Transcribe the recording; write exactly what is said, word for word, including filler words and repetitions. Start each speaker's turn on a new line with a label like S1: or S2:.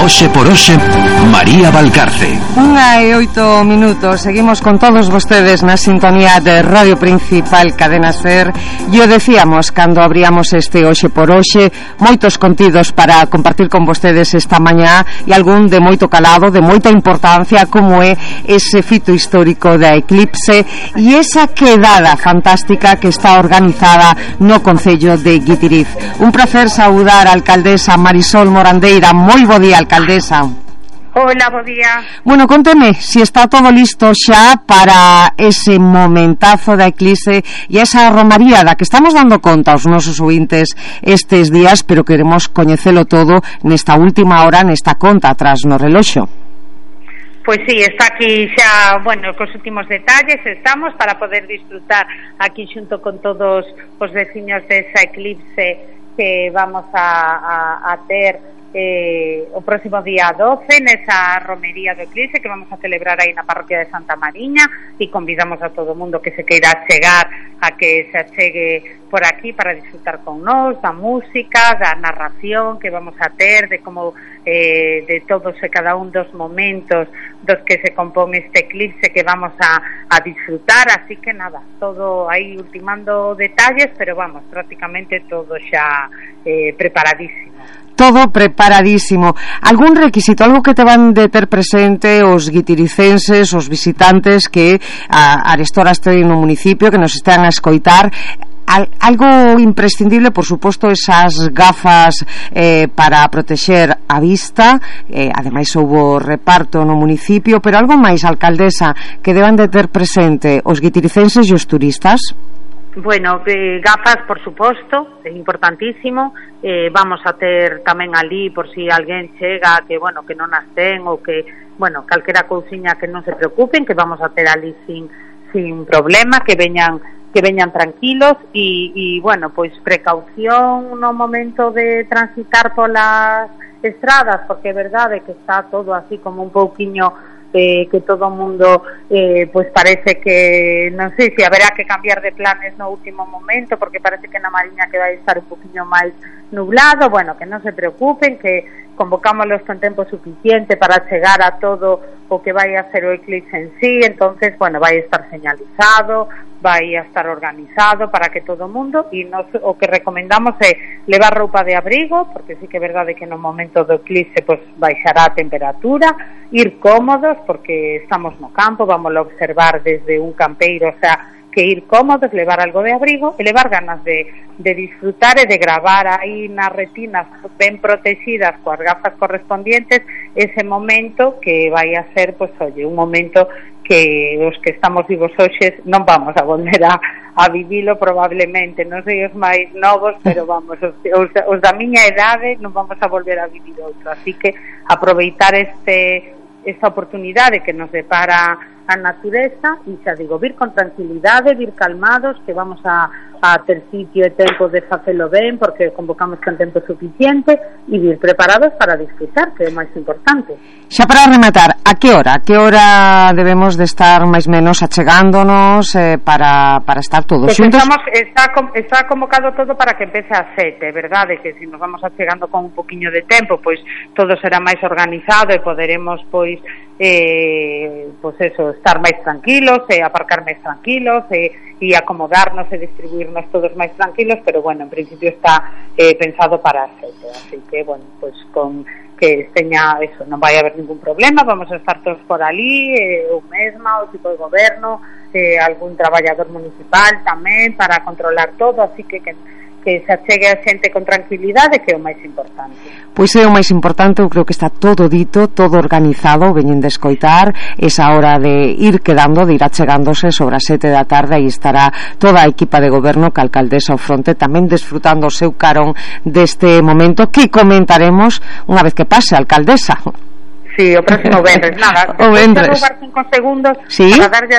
S1: Hoxe por hoxe, María Valcarce.
S2: Unha e oito minutos. Seguimos con todos vostedes na sintonía de Radio Principal Cadena Ser. E o decíamos cando abríamos este Hoxe por hoxe, moitos contidos para compartir con vostedes esta mañá e algún de moito calado, de moita importancia, como é ese fito histórico da eclipse e esa quedada fantástica que está organizada no concello de Guitiriz. Un placer saudar a alcaldesa Marisol Morandeira. Moi bo día, alcaldesa.
S3: Hola, bo día.
S2: Bueno, conteme si está todo listo xa para ese momentazo da eclipse e esa romaría da que estamos dando conta aos nosos ouvintes estes días, pero queremos coñecelo todo nesta última hora, nesta conta atrás no reloxo.
S3: Pois sí, está aquí xa, bueno, cos últimos detalles estamos para poder disfrutar aquí xunto con todos os veciños desa eclipse que vamos a, a, a ter eh, o próximo día doce nesa romería do eclipse que vamos a celebrar aí na parroquia de Santa Mariña, e convidamos a todo o mundo que se queira chegar a que se achegue por aquí para disfrutar con nós da música, da narración que vamos a ter, de como eh, de todos e cada un dos momentos dos que se compón este eclipse que vamos a, a disfrutar, así que nada, todo aí ultimando detalles, pero vamos, prácticamente todo xa eh, preparadísimo.
S2: Todo preparadísimo. Algún requisito, algo que te van de ter presente os guitiricenses, os visitantes que a, a restora estén no municipio, que nos estean a escoitar? Al, algo imprescindible, por suposto, esas gafas eh, para protexer a vista, eh, ademais houbo reparto no municipio, pero algo máis, alcaldesa, que deban de ter presente os guitiricenses e os turistas?
S3: Bueno, eh, gafas, por suposto, é importantísimo. Eh, vamos a ter tamén ali, por si alguén chega que, bueno, que non as ten ou que, bueno, calquera cousiña, que non se preocupen, que vamos a ter ali sin, sin problema, que veñan que veñan tranquilos e, e, bueno, pois precaución no momento de transitar polas estradas, porque é verdade que está todo así como un pouquiño eh, que todo o mundo eh, pois parece que non sei se haberá que cambiar de planes no último momento, porque parece que na Mariña que vai estar un poquinho máis nublado. Bueno, que non se preocupen, que convocámoslos con tempo suficiente para chegar a todo o que vai a ser o eclipse en sí. Entonces, bueno, vai estar señalizado, vai a estar organizado para que todo o mundo, e nos, o que recomendamos é levar roupa de abrigo, porque sí que é verdade que no momento do eclipse pues, baixará a temperatura, ir cómodos, porque estamos no campo, vamos a observar desde un campeiro, o sea, que ir cómodos, levar algo de abrigo e levar ganas de, de disfrutar e de gravar aí nas retinas ben protegidas coas gafas correspondientes ese momento que vai a ser, pues, oye, un momento que os que estamos vivos hoxe non vamos a volver a, a vivilo probablemente, non sei os máis novos, pero vamos, os, os, os da miña idade non vamos a volver a vivir outro, así que aproveitar este esta oportunidade que nos depara a natureza, e xa digo, vir con tranquilidade, vir calmados, que vamos a, a ter sitio e tempo de facelo ben, porque convocamos con tempo suficiente, e vir preparados para disfrutar, que é o máis importante.
S2: Xa para rematar, a que hora? A que hora debemos de estar máis menos achegándonos eh, para, para estar todos
S3: pues
S2: xuntos?
S3: Estamos, está, está convocado todo para que empece a sete, verdade, que se nos vamos achegando con un poquinho de tempo, pois todo será máis organizado e poderemos, pois, eh, pois eso, estar máis tranquilos e aparcar máis tranquilos e, e acomodarnos e distribuirnos todos máis tranquilos, pero bueno, en principio está eh, pensado para as sete, así que bueno, pois con que teña eso, non vai haber ningún problema, vamos a estar todos por ali, eh, o mesma, o tipo de goberno, eh, algún traballador municipal tamén para controlar todo, así que que que se achegue a xente con tranquilidade, que é o máis importante.
S2: Pois é o máis importante, eu creo que está todo dito, todo organizado, veñen de escoitar, esa hora de ir quedando, de ir achegándose sobre as sete da tarde, e estará toda a equipa de goberno, que a alcaldesa ao fronte, tamén desfrutando o seu carón deste momento, que comentaremos unha vez que pase, alcaldesa.
S3: Sí, o próximo venres, nada,
S2: o venres.
S3: roubar cinco segundos,
S2: ¿Sí?
S3: para darlle as